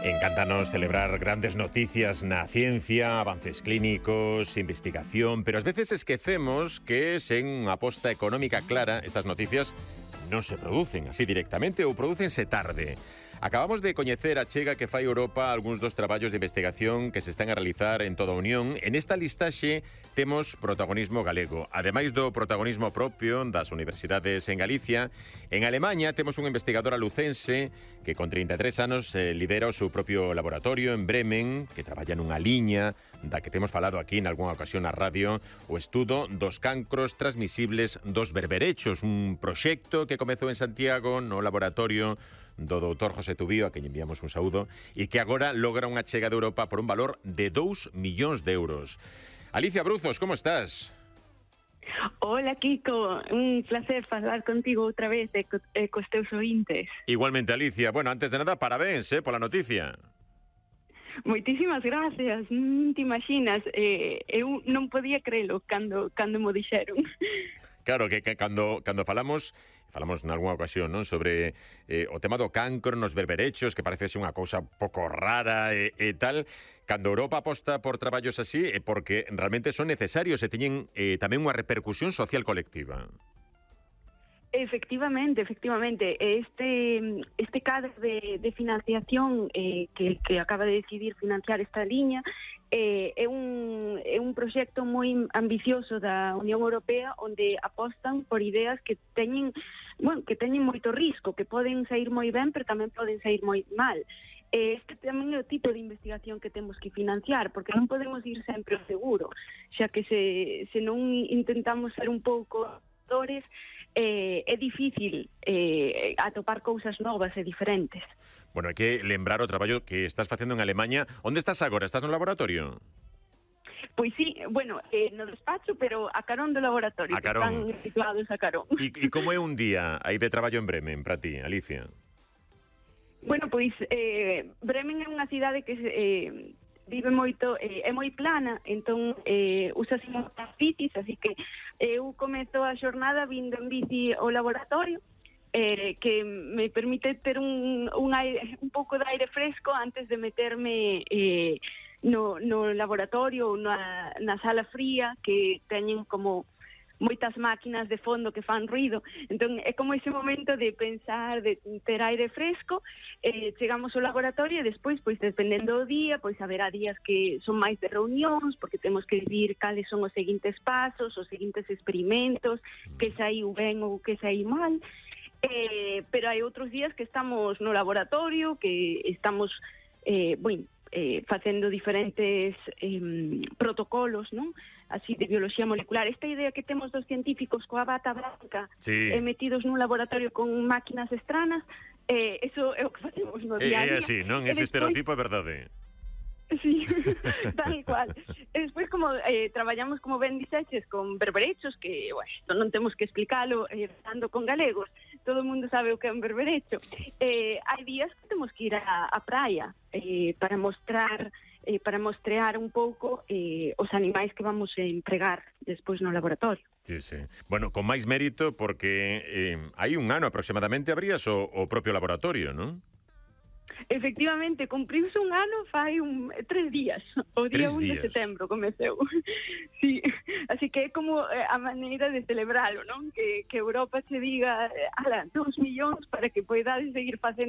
Encántanos celebrar grandes noticias na ciencia, avances clínicos, investigación, pero ás veces esquecemos que sen unha aposta económica clara estas noticias non se producen así directamente ou prodúcense tarde. Acabamos de coñecer a chega que fai Europa algúns dos traballos de investigación que se están a realizar en toda a Unión. En esta listaxe temos protagonismo galego. Ademais do protagonismo propio das universidades en Galicia, en Alemanha temos un investigador lucense que con 33 anos lidera o seu propio laboratorio en Bremen, que traballa nunha liña da que temos falado aquí en algunha ocasión na radio, o estudo dos cancros transmisibles dos berberechos, un proxecto que comezou en Santiago no laboratorio do doutor José Tubío, a quen enviamos un saúdo, e que agora logra unha chega de Europa por un valor de 2 millóns de euros. Alicia Bruzos, como estás? Hola, Kiko. Un placer falar contigo outra vez e cos teus ointes. Igualmente, Alicia. Bueno, antes de nada, parabéns pola noticia. Moitísimas gracias. Te imaginas, eu non podía crelo cando mo dixeron. Claro, que cando falamos nalgúna ocasión, non, sobre o tema do cancro nos berberechos, que parece ser unha cousa pouco rara e tal. Cando Europa aposta por traballos así é porque realmente son necesarios e teñen tamén unha repercusión social colectiva. Efectivamente. Este cadro de financiación que acaba de decidir financiar esta liña é un proxecto moi ambicioso da Unión Europea onde apostan por ideas que teñen moito risco, que poden sair moi ben, pero tamén poden sair moi mal. Este tamén é o tipo de investigación que temos que financiar, porque non podemos ir sempre ao seguro, xa que se non intentamos ser un pouco é difícil atopar cousas novas e diferentes. Bueno, hai que lembrar o traballo que estás facendo en Alemanha. Onde estás agora? Estás no laboratorio? Pois sí, bueno, no despacho, pero a carón do laboratorio, que están situados a carón. E como é un día aí de traballo en Bremen para ti, Alicia? Bueno, pois Bremen é unha cidade que vive moito, é moi plana, entón usas moitas bicis, así que eu comezo a xornada vindo en bici ao laboratorio, que me permite ter un pouco de aire fresco antes de meterme no laboratorio ou na sala fría, que teñen como moitas máquinas de fondo que fan ruido. Entón é como ese momento de pensar, de ter aire fresco. Chegamos ao laboratorio e despois, pois dependendo do día, pois haberá días que son máis de reunións, porque temos que decidir cales son os seguintes pasos, os seguintes experimentos, que saiu ben ou que saiu mal. Pero hai outros días que estamos no laboratorio, que estamos facendo diferentes protocolos, non? Así de biología molecular. Esta idea que temos dos científicos coa bata branca, sí, metidos nun laboratorio con máquinas estranas, eso é o que facemos no día a día. É así, non? Ese estereotipo é verdade. Sí, tal cual. E despois, como traballamos, como ben dixeches, con berberechos, que non temos que explicalo, falando con galegos, todo o mundo sabe o que é un berberecho. Hai días que temos que ir á praia para mostrear un pouco os animais que vamos a empregar despois no laboratorio. Sí. Bueno, con máis mérito porque hai un ano aproximadamente abrías o propio laboratorio, non? Efectivamente, cumpriuse un ano fai 3 días, o día 1 de setembro comeceu. Sí, así que é como a maneira de celebralo, non? Que Europa se diga 2 millóns para que poidades seguir facendo